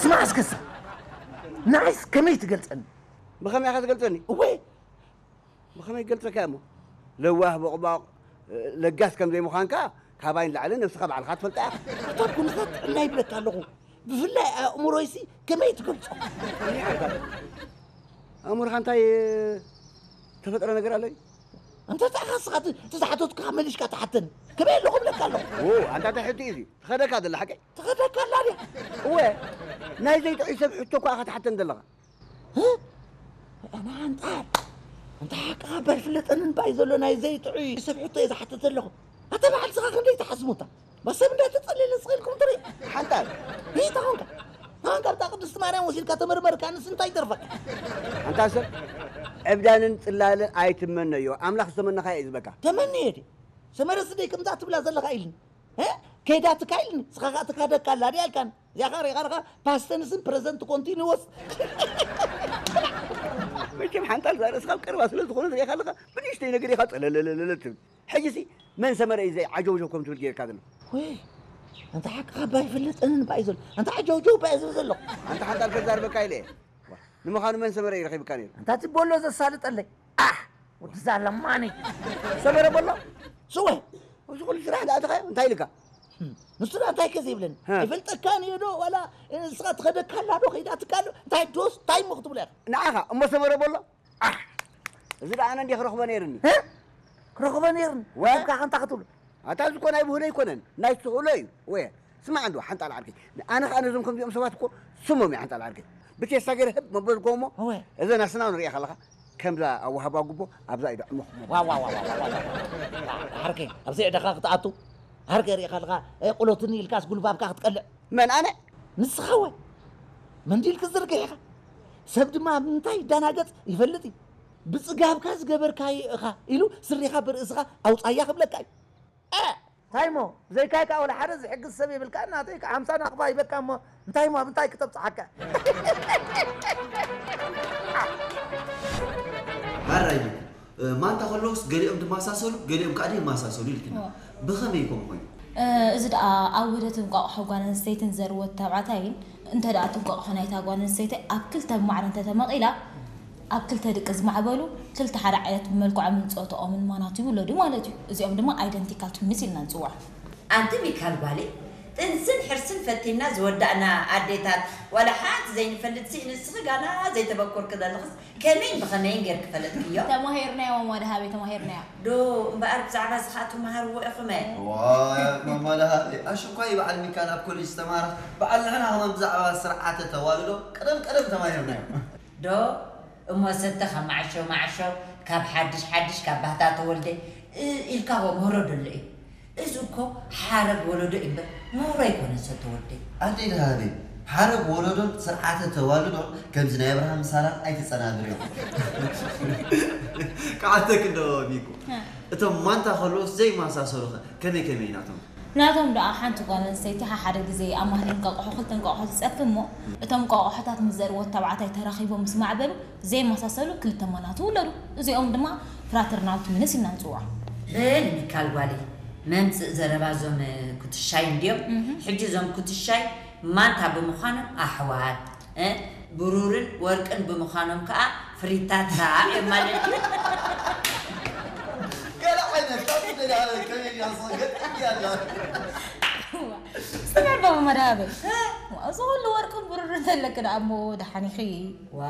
ስማዕ እስክሳ፣ ንዓይስ ከመይ ትገልጸኒ? ብኸመይ ኢኻ ትገልጸኒ? እወ፣ ብኸመይ ገልጸካ እሞ? ለዋህ፣ ቦቕቧቕ፣ ለጋስ ከም ዘይምዃንካ ካባይ ንላዕሊ ነብስኻ ባዕልኻ ትፈልጣ ኢኻ። ኣታ ኩነታት ጥዕና ይብለካ ኣለኹ። ብፍላይ ኣእምሮይሲ ከመይ ትገልጾ? ኣእምሮኻ እንታይ ተፈጥረ ነገር ኣሎ? እንተ ጻኻ ስኻ እቲ፣ እቲ ዝሓተትኩኻ መሊሽካ ትሓተኒ። ከመይ ኣለኹ እብለካ ኣለኹ። ዎ፣ ኣንታ እንታይ ሕቶ እዩ እዚ? ትኸደካ ዘላ ሓቀይ? ትኸደካ ኣላ ድያ? እወ፣ ናይ ዘይጥዑይ ሰብ ሕቶ እኳ ኢኻ ትሓተኒ ዘለኻ። እ? ኣነ ሓንጣል፣ እንተ ሓቅኻ እባ ኣይፍለጠንን ባይ ዘሎ ናይ ዘይጥዑይ ሰብ ሕቶ እየ ዝሓትት ዘለኹ። ኣታ በዓል ስኻ ክንደይ ትሓስሙታ? በሰብ እንዳተጸለለ ስቕ ኢልኩም ትርኢ። ሓንጣል። ሪኢታ ኾንካ። ኣንካ ኣብታ ቅድስቲ ማርያም ወሲድካ ተመርመርካ፣ ንስ እንታይ ይተርፈካ? ኣንታ ሰብ፣ ዕብዳንን ጽላልን ኣይትመነዮ። ኣምላኽ ዝተመነኻ እዩ ዝበካ። ተመንየ ድየ? ሰመረ ስደይ ከምዛ ትብላ ዘለኻ ኢልኒ። እ? ከይዳ ትካ ኢልኒ። ስኻ ኸኣ ትካደካ ኣላ ድያ ኢልካኒ። እዚኣ ኸኣ ሪኢኻ ኣለኻ፣ ፓስተንስን ፕረዘንት ኮንቲኒወስ። መቸም ሓንጣል እዛ ርእስኻ ኣብ ቀረባ ስለ ዝኾነ ሪኢኻ ኣለኻ፣ ብንእሽተይ ነገር ኢኻ ጸለለለለ ትብል። ሕጂሲ መን ሰመረ እዩ ዘይ ዓጀውጀው ከም ትብል ጌርካ ዘሎ? ወይ፣ ኣንታ ሓቅኻ እባ ኣይፍለጠንን እባ እዩ ዘሎ። ኣንታ ዓጀውጀው እባ እዩ ዝብል ዘሎ። ኣንታ ሓንጣል ከዛርበካ ኢለ እየ። ዋ፣ ንምዃኑ መን ሰመረ እዩ ረኺብካ ነይሩ? ኣንታ እቲ ቦሎ ዘሳልጠለይ። ኣሕ! ወዲ እዛ ለማኒ። ሰመረ ቦሎ? ስወ! እዚ ኩሉ ስራሕ ደኣ ኣተኻዮ? እንታይ ኢልካ? ህም፣ ንሱ ደኣ እንታይ ከ ዘይብለኒ? ሀ። ኣይፈልጠካን እየ ዶ? ዋላ ንስኻ ትኸደካ ኣላ ዶ? ከይዳትካ ኣሎ? እንታይ ዶስ? እንታይ እሞ ክትብሎ ኢኻ? ንዓኻ? እሞ ሰመረ ቦሎ? ኣሕ! እዚ ደኣ ኣነ እንድየ ክረኽቦ ነይርኒ። እ? ክረኽቦ ነይርኒ? ወ? ከብካ ከንታ ክትብሎ? ኣታ እዚ እኮ ናይ ብህሎ ኣይኮነን፣ ናይ ትህሎ እዩ። ወየ፣ ስማዕ እንዶ ሓንጣል ዓርከይ፣ ኣነ ኸኣ ነዞም ከምዚኦም ሰባት እኮ ስሞም እየ ሓንጣል ዓርከይ። ብቴስታ ገይረ ህብ መበልኮ እሞ፣ እወ። እዘን ኣስናን ሪኢኻ ኣለኻ፣ ከምዛ ኣዋህባ ጉቦ ኣብዛ ኢዶ ዕሙኽ መበል። ዋ፣ ዋ፣ ዋ፣ ዋ፣ ዋ፣ ዋ። ዓርከይ፣ ኣብዚ ዕደኻ ክትኣቱ፣ ዓርከይ ሪኢኻ ኣለኻ፣ እ፣ ቁሎትኒ ኢልካስ ጉልባብካ ክትቀልዕ። መን ኣነ? ንስኻ ወ? መንዲል ክትዝርግሕ ኢኻ። ሰብ ድማ ኣብ ምንታይ ይደናገጽ ይፈልጥ እዩ። ብጽጋብካ ዝገበርካዮ ኢኻ ኢሉ ስሪኻ ብርእስኻ ኣውጻያ ክብለካ እዩ። እ! እንታይ እሞ? ብዘይካይ ከኣ ወላ ሓደ ዝሕግዝ ሰብ የብልካ። እናተይ ከኣ ሓምሳ ናቕፋ ሂበካ እሞ፣ እንታይ እሞ? ኣብ እንታይ ክተብጽሓካ? ሓራይ እኮ፣ እ፣ ማንታ ከለውስ ገሊኦም ድማሳሰሉ፣ ገሊኦም ከኣ ደይማሳሰሉ ኢልክና። እዎ። ብኸመይ ከምኡ ኮይኑ? እ፣ እዚ ደኣ ኣብ ውህደት እንቋቑሖ ጓል ኣንስተይትን ዘርወት ተባዕታይን፣ እንተ ደኣ እቲ እንቋቑሖ ናይታ ጓል ኣንስተይቲ ኣብ ክልተ ብማዕረ እንተ ተመቒላ፣ ኣብ ክልተ ድቂ ዝማዕበሉ፣ ክልተ ሓደ ዓይነት ብመልክዖምን ጾታኦምን ማናቱ ይውለዱ ማለት እዩ። እዚኦም ድማ ኣይደንቲካል ትዊንስ ኢልና ንጽውዖም። ኣንቲ ሚካል ጓለይ፣ ጥንስን ሕርስን ፈቲና ዝወዳእና ኣዴታት፣ ዋላ ሓንቲ ዘይንፈልጥ ሲ ንስኺ ጋና ዘይተበኮርኪ ዘለኽስ ከመይን ብኸመይን ጌርኪ ፈለጥክዮ? ተማሂርናዮ ማማ ደሃበይ፣ ተማሂርናዮ። ዶ እምበኣር ብዛዕባ እዚ ኸኣ ትመሃርዎ ኢኹም? ዋይ፣ ማማ ደሃበይ፣ ኣሽኳይ በዓል ሚካል ኣብ ኮሌጅ ዝተማሃረ፣ በዓል ንሕና ኸማን ብዛዕባ ስርዓተ ተዋልዶ ቀደም ቀደም ተማሂርናዮ። ዶ እሞ ሰተ ካብ መዓሾ መዓሾ፣ ካብ ሓድሽ ሓድሽ፣ ካብ ባህታ ተወልደ፣ እ፣ ኢልካ ኸ ምህሮ ደሎ እዩ። እዚ እኮ ሓረግ ወለዶ እዩ እምበር ምህሮ ኣይኮነን ሰተ ወልደ። ኣደይ ደሃበይ፣ ሓረግ ወለዶን ስርዓተ ተዋልዶን ከምዚ ናይ ኣብርሃም ሳራን ኣይትጸናብርዮ። ክሓተኪ እንዶ ቢኩ። እ። እቶም ማንታ ከለውስ ዘይመሳሰሉ ኸ ከመይ ከመይ ናቶም? ናቶም ደኣ ሓንቲ ጓል ኣንስተይቲ ሓሓደ ግዜ ኣብ ማህደር እንቋቑሖ ክልተ እንቋቑሖ ትጸፊ እሞ፣ እቶም እንቋቑሖታት ምስ ዘርወት ተባዕታይ ተራኺቦም ምስ ማዕበሉ፣ ዘይመሳሰሉ ክልተ ማናቱ ውለዱ። እዚኦም ድማ ፍራተርናል ትዊንስ ኢልና ንጽውዖም። በል ሚካል ጓለይ፣ መምጽእ ዘረባ እዞም ኩትሻይ እንድዮም። እህ። ሕጂ እዞም ኩትሻይ ማንታ ብምዃኖም ኣሕዋት፣ እ፣ ብሩርን ወርቅን ብምዃኖም ከኣ ፍሪታታ እዮም ማለት እዩ። ገለ ዓይነት ካብ ደጋለ ከመይ ኢላ ሰገጥ እያላ። ዝተመርበቡ መድሃበይ። እዚ ኩሉ ወርቅን ብሩርን ተለኪ ደኣ እሞ ደሓን ኢኺ። ዋ፣